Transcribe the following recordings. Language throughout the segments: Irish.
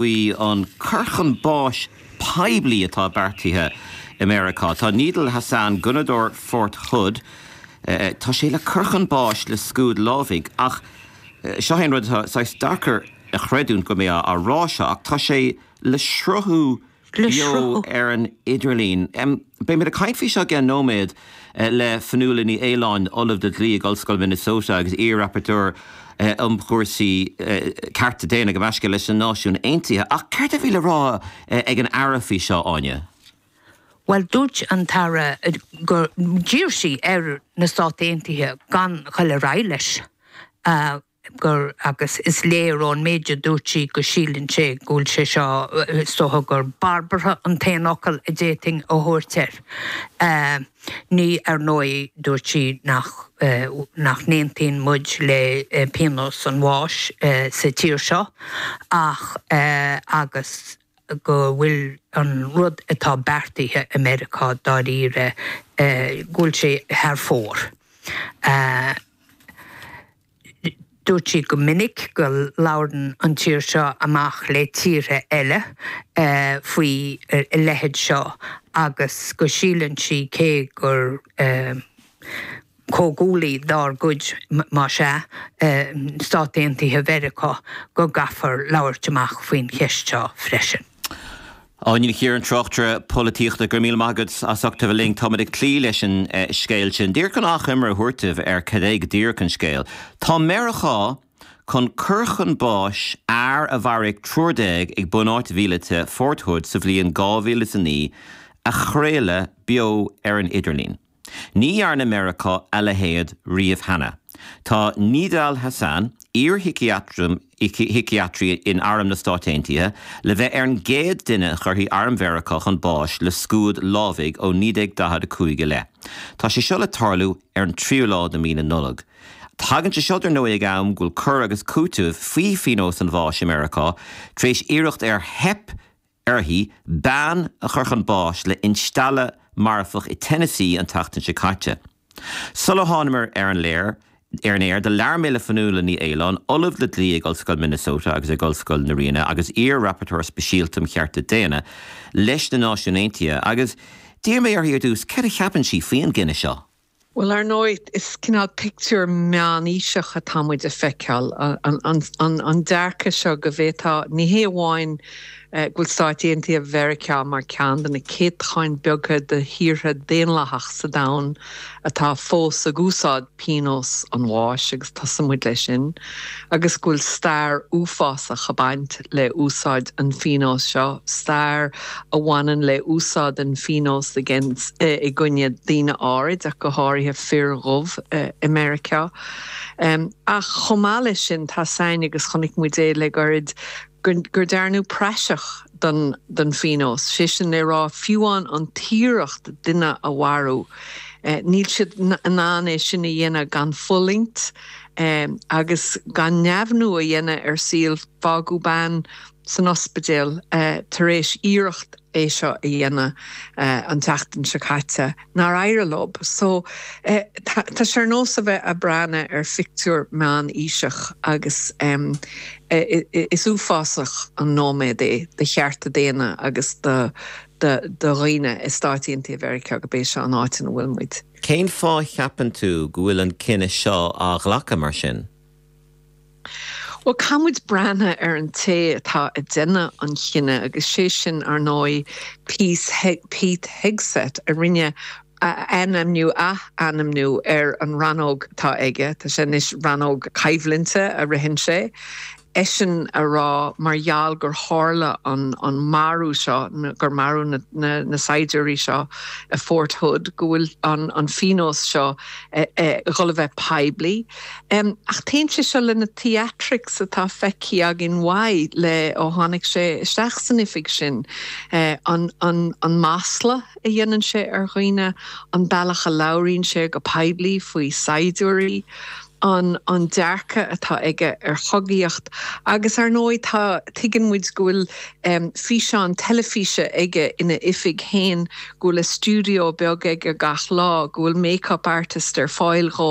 Faoi an cur chun báis poiblí atá beartaithe i Meiriceá. Tá Nidal Hasan, gunnadóir Fort Hood, tá sé le cur chun báis le scuad lámhaigh ach seo é an rud atá saghas deacair a chreidiúint go mbeidh mé á rá seo ach tá sé le sruthú beo ar an idirlíon. Beimid ag caint faoi seo i gceann nóiméad le Fionnuala Ní Aoláin, Ollamh le Dlí ag Ollscoil Minnesota agus iar-Rapporteur um chúrsaí cearta daonna gabh mo leithscéal leis na Náisiúin Aontaithe. Ach céard a bhí le rá ag an Aire faoi seo, Áine? Bhuel, dúirt an tAire gur d'iarr sí ar na Stáit Aontaithe gan dhul ar aghaidh leis. gur, agus is léir ón méid a dúirt sí go síleann sé go bhfuil sé seo, is dócha gur barbartha an t-aon fhocal a d'fhéadfainn a thabhairt air. Ní, ar ndóigh, dúirt sí nach, nach n-aontaíonn muid le pionós an bháis sa tír seo ach, agus go bhfuil an rud atá beartaithe i Meiriceá dáiríre, go bhfuil sé thar fóir. Dúirt sí go minic go labhrann an tír seo amach le tíortha eile faoi a leithéid seo agus go síleann sí cé gur comhghuaillí dár gcuid, más ea, Stáit Aontaithe Mheiriceá, go gcaithfear labhairt amach faoin cheist seo freisin. Áine Ní Chiaráin, tráchtaire polaitíochta, go raibh míle maith agat as ucht a bheith linn. Táimid ag cloí leis an scéal sin. Díreach chun achoimre a thabhairt daoibh ar cad é go díreach an scéal. Tá Meiriceá chun cur chun báis fhear a mharaigh 13 ag bunáit mhíleata Fort Hood sa bhliain 2009 a chraoladh beo ar an idirlíon. Ní dhearna Meiriceá a leithéid riamh cheana. Tá Nidal Hasan, iar-shíciatraí in Arm na Stát Aontaithe, le bheith ar an gcéad duine a chuirfidh Arm Mheiriceá chun báis le scuad lámhaigh ó 1945 i leith. Tá sé seo le tarlú ar an tríú lá de mhí na Nollag. Tagann sé seo, dar ndóigh, ag am go bhfuil cur agus cúiteamh faoi phionós an bháis i Meiriceá tar éis iarracht ar theip uirthi bean a chur chun báis le instealladh marfach i Tennessee an tseachtain seo caite. Sula thánamar ar an léir ar an aer, do labhair mé le Fionnuala Ní Aoláin, Ollamh le Dlí ag Ollscoil Minnesota agus ag Ollscoil na Ríona agus iar-Rapporteur Speisialta um Chearta Daonna leis na Náisiúin Aontaithe, agus d'iarr mé uirthi ar dtús céard a cheapann sí faoin gcinneadh seo. Bhuel, ar ndóigh, is cineál pictiúr meánaoiseach atá muid a feiceáil, an dearcadh seo go bhféadfá, ní hé amháin go bhfuil Stáit Aontaithe Mheiriceá mar ceann de na céatacháin beaga de thíortha daonlathach sa domhan atá fós ag úsáid pionós an bháis, agus tosaíonn muid leis sin, agus go bhfuil stair uafásach ag baint le úsáid an phionóis seo, stair a bhaineann le úsáid an phionóis i gcoinne daoine áirid, ach go háirithe fir dhubh i Meiriceá. Ach chomh maith leis sin, tá a fhios againn, agus chonaic muid é le gairid, gur dearnadh praiseach den phionós, sé sin le rá, fiú amháin an t-iarracht duine a mharú, níl siad in ann é sin a dhéanamh gan fulaingt agus gan neamhniú a dhéanamh ar saol. Fágadh bean san ospidéal tar éis iarracht é seo a dhéanamh an tseachtain seo caite nár éirigh leo. So tá sé ar nós a bheith ag breathnú ar phictiúr meánaoiseach agus is uafásach an nóiméad é do chearta daonna agus do dhaoine i Stáit Aontaithe Mheiriceá gurb é seo an áit ina bhfuil muid. Cén fáth a cheapann tú go bhfuil an cinneadh seo á ghlacadh mar sin? Bhuel, caithfidh muid breathnú ar an té atá ag déanamh an chinnidh agus sé sin, ar ndóigh, Pete Hegseth a rinne ainmniú, ath-ainmniú ar an rannóg atá aige, tá sé anois rannóg coimhlinte a ritheann sé, eisean a rá mar gheall gur tharla an marú seo, gur maraíodh na saighdiúirí seo i Fort Hood, go bhfuil an phionós seo ag dhul a bheith poiblí. Ach téann sé seo le na theatrics atá feicthe againn uaidh le ó tháinig sé isteach san oifig sin. An an masla a dhéanann sé ar dhaoine, an bealach a labhraíonn sé go poiblí faoi saighdiúirí. An an dearcadh atá aige ar chogaíocht agus ar ndóigh tá, tuigeann muid go bhfuil físeán teilifíse aige ina oifig féin, go bhfuil a stiúideo beag aige gach lá, go bhfuil make-up artist ar fáil dhó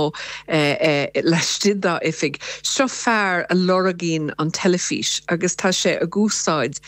laistigh dá oifig. Seo fear a lorgaíonn an teilifís agus tá sé ag úsáid.